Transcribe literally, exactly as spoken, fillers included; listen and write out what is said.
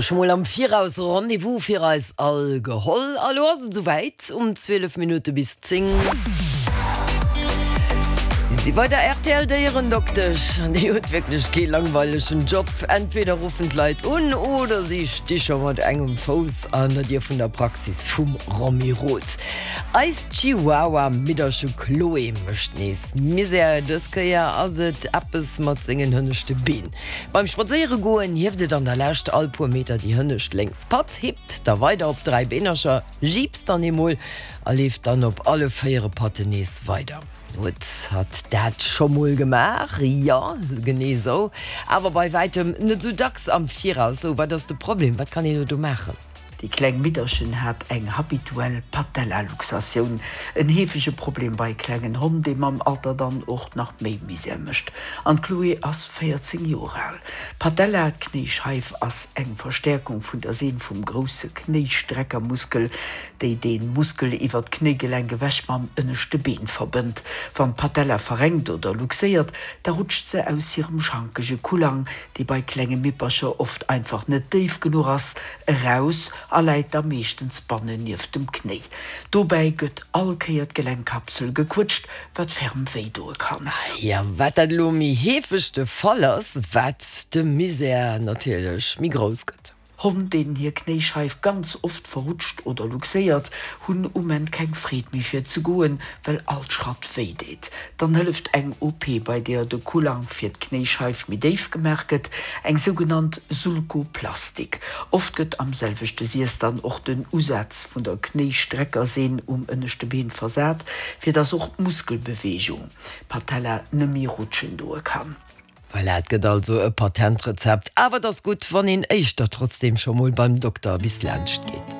Also scho mol am Viraus Rendez-vous fir eis all geholl. A lo ass et souwäit, um zwielef Minutte bis zéng si bei der R T L Déierendoktesch. An déi huet wierklech kee langweilegen Job. Entweder ruffen d'Leit un oder si sti scho mat engem Fouss an der Dier vun der Praxis vum Romy Roth. Eist Chihuahua-Midderche Chloé mécht nees Misär. Dës Kéier ass et eppes mat sengen hënneschte Been. Beim Spadséiere goen hieft et an der Lescht all puer Meter déi hënnescht lénks Patt, hippt da weider op dräi Beenercher, jiipst dann eemol a leeft dann op alle véiere Patten nees weider. Huet hatt dat scho mol gemaach? Jo, genee esou. Awer bei wäitem net esou dacks am Viraus. Sou, wat ass de Problem? Wat kann een elo do maachen? Déi kleng Midderchen hat eng habituell Patellaluxatioun, en heefege Problem bei klengen Honn, dee mam Alter dann och nach méi Misär mécht. An d'Chloé ass véierzéng Joer al. D'Patella, d'Knéischeif, ass eng Verstäerkung vun der Seen vum grousse Knéistreckermuskel, déi dee Muskel iwwer d'Knéigelenk ewech mam ënneschte Been verbënnt. Wann d'Patella verengt oder luxéiert, da rutscht se aus hirem schankege Kullang, dee bei klenge Mippercher oft einfach net déif genuch ass, eraus a läit da meeschtens bannen nieft dem Knéi. Dobäi gëtt all Kéier d'Gelenkkapsel gequëtscht, wat ferm wéi doe kann. Jo, wat dat elo méi heefeg de Fall ass, wat de Misär natierlech méi grouss gëtt. Honn, deenen hir Knéischeif ganz oft verrutscht oder luxéiert, hunn um Enn keng Freed méi fir ze goen, well all Schratt wéi deet. Dann hëlleft eng O P, bei deer de Kullang fir d'Knéischeif méi déif gemaach gëtt, eng sougenannt Sulkoplastik. Oft gëtt am selwechte Siess dann och den Usaz vun der Knéistreckerseen um ënneschte Been versat, fir dass och d'Muskelbeweegung d'Patella nëmme rutschen doe kann. Voilà, et gëtt also e Patentrezept, awer et ass gutt, wann een éischter trotzdeem scho mol beim Dokter bis laanscht geet.